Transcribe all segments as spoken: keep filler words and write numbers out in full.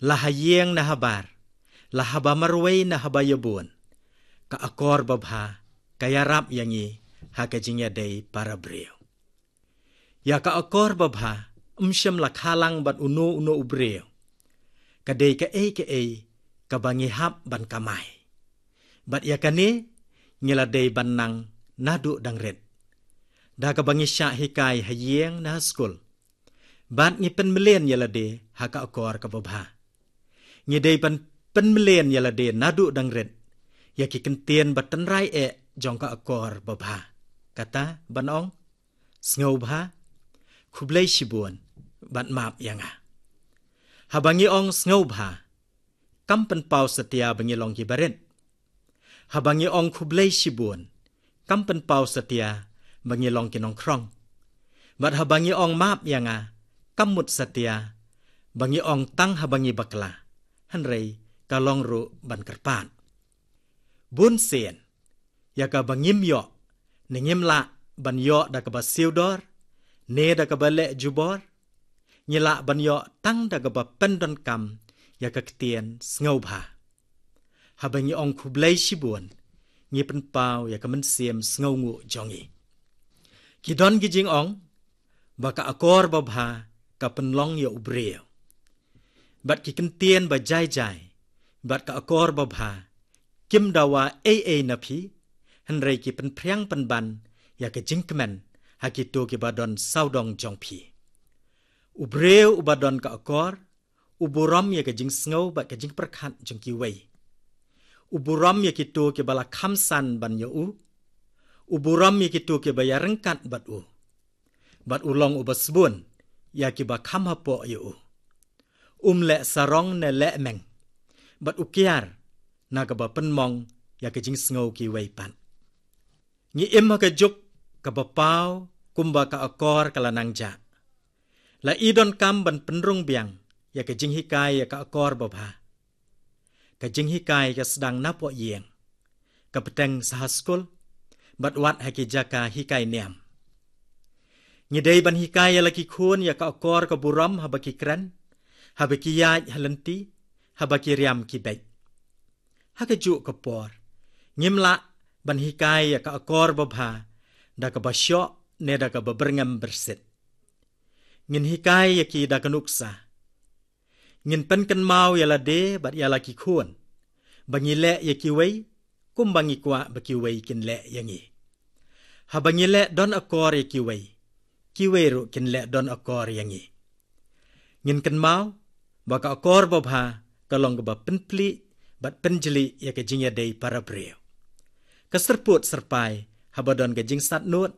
La ha ïing ne ha bar, la haba marwei ne haba ïabun, ka akor babha ka ïarap ïa ngi ha ka jingïadei para briew. Ïa ka akor babha ym shym la kha lang bad uno uno u briew. Ka dei kaei kaei kaba ngi hap ban kamai. Bad ïa kane ngi la dei ban nang naduh dang rit, da kaba ngi shah hikai ha ïing ne ha skul. Bad ngi pynmlien ïa lade ha ka akor kaba bha. Ngi dei ban pynmlien ïa lade naduh dang rit ïa ki kyntien ba tynrai eh jong ka akor babha. Kata ban ong, sngewbha, khublei shibun, bad map ïa nga. Haba ngi ong sngewbha, kam pynpaw satia ba ngi long ki barit. Haba ngi ong khublei shibun, kam pynpaw satia ba ngi long ki nongkhrong. Bad haba ngi ong map ïa nga, kam mut satia ba ngi ong tang haba ngi bakla, hynrei ka long ruh ban kyrpad. Bun sien, ïa kaba ngim ïoh ne ngim lah ban ïoh da kaba siew dor ne da kaba leh jubor, ngi lah ban ïoh tang da kaba pyndonkam ïa ka ktien sngewbha. Haba ngi ong khublei shibun, ngi pynpaw ïa ka mynsiem sngewnguh jong ngi. Ki don ki jingong ba ka akor babha ka pynlong ïa u briew. Bad ki kyntien ba jai jai bad ka akor babha kim dawa ei ei na phi, hynrei ki pynphriang pynban ïa ka jingkmen ha kito kiba don sawdong jong phi. U briew uba don ka akor u burom ïa ka jingsngew bad ka jingpyrkhat jong kiwei. U burom ïa kito kiba la kham san ban ïa u. U burom ïa kito kiba ïaryngkat bad u. Bad u long uba sbun ïa kiba kham hapoh ïa u. Um leh sarong ne leh meng. Bad u kiar na kaba pynmong ïa ka jingsngew kiwei pat. Ngi im ha ka juk kaba paw kumba ka akor ka la nang jah. La i donkam ban pynrung biang ïa ka jinghikai ïa ka akor babha. Ka jinghikai ka sdang napoh ïing, ka bteng sa ha skul, bad wat ha ki jaka hikai niam. Ngi dei ban hikai ïa la ki khun ïa ka akor ka burom haba ki kren, haba ki ïaid ha lynti, haba ki riam ki beit. Ha kajuh ka por, ngim lah ban hikai ïa ka akor babha da kaba shoh ne da kaba byrngem byrsit. Ngin hikai ïa ki da ka nuksa. Ngin pynkynmaw ïa lade bad ïa la ki khun ba ngi leh ïa kiwei kumba ngi kwah ba kiwei kin leh ïa ngi. Haba ngi leh don akor ïa kiwei, kiwei ruh kin leh don akor ïa ngi. Ngin kynmaw ba ka akor babha ka long kaba pynplie bad pynjli ïa ka jingïadei para briew. Ka syrpud syrpai haba don ka jingsatnud,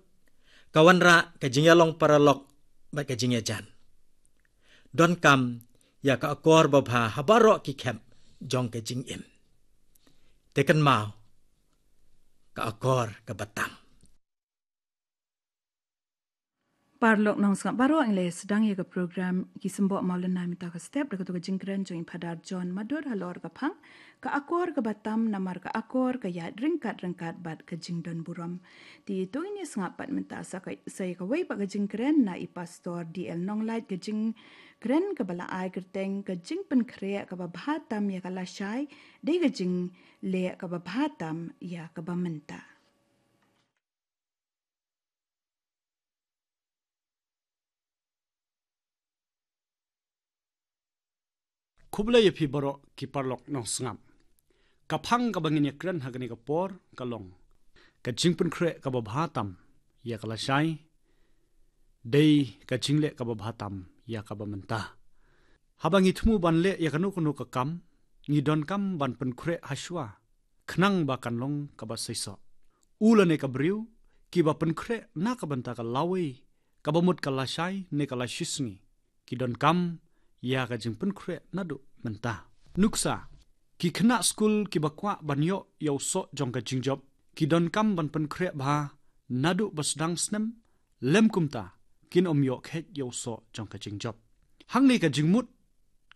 ka wanrah ka jingïalong paralok bad ka jingïajan. Donkam ïa ka akor babha ha baroh ki khep jong ka jingim. Te kynmaw, ka akor kaba tam. Paralok nongsngap baroh, ngi la sdang ïa ka program Ki Symbok Mawlynnai mynta ka step da kato ka jingkren jong i Phadar John Madur halor ka phang Ka Akor Kaba Tam, namar ka akor ka ïaid ryngkat ryngkat bad ka jingdon burom. Te to ngin ïa sngap pat mynta sa ka, sa ïa kawei pat ka jingkren na i Pastor D L Nonglait, ka jingkren kaba la ai kyrteng Ka Jingpynkhreh Kaba Bha Tam ïa ka Lashai, dei ka jingleh kaba bha tam ïa kaba mynta. Khublei ïa phi baroh ki paralok nongsngap. Ka phang kaba ngin ïa kren ha kane ka por ka long: Ka jingpynkhreh kaba bha tam ïa ka lashai, dei ka jingleh kaba bha tam ïa kaba mynta. Haba ngi thmu ban leh ïa kano kano ka kam, ngi donkam ban pynkhreh hashwa, khnang ba kan long kaba seisoh. U lane ka briew kiba pynkhreh na ka bynta ka lawei, kaba mut ka lashai ne ka lashisngi, ki donkam ïa ka jingpynkhreh naduh mynta. Nuksa, ki khynnah skul kiba kwah ban ïoh ïa u soh jong ka jingjop, ki donkam ban pynkhreh bha naduh ba sdang snem, lym kumta kin ym ïoh kheit ïa u soh jong ka jingjop. Hangne ka jingmut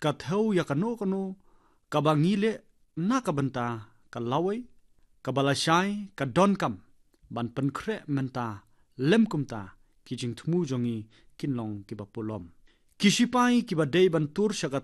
ka thew ïa kano kano kaba ngi leh na ka bynta ka lawei, kaba lashai, ka donkam ban pynkhreh mynta, lym kumta ki jingthmu jong ngi kin long kiba pulom. Ki shipai kiba dei ban tur sha ka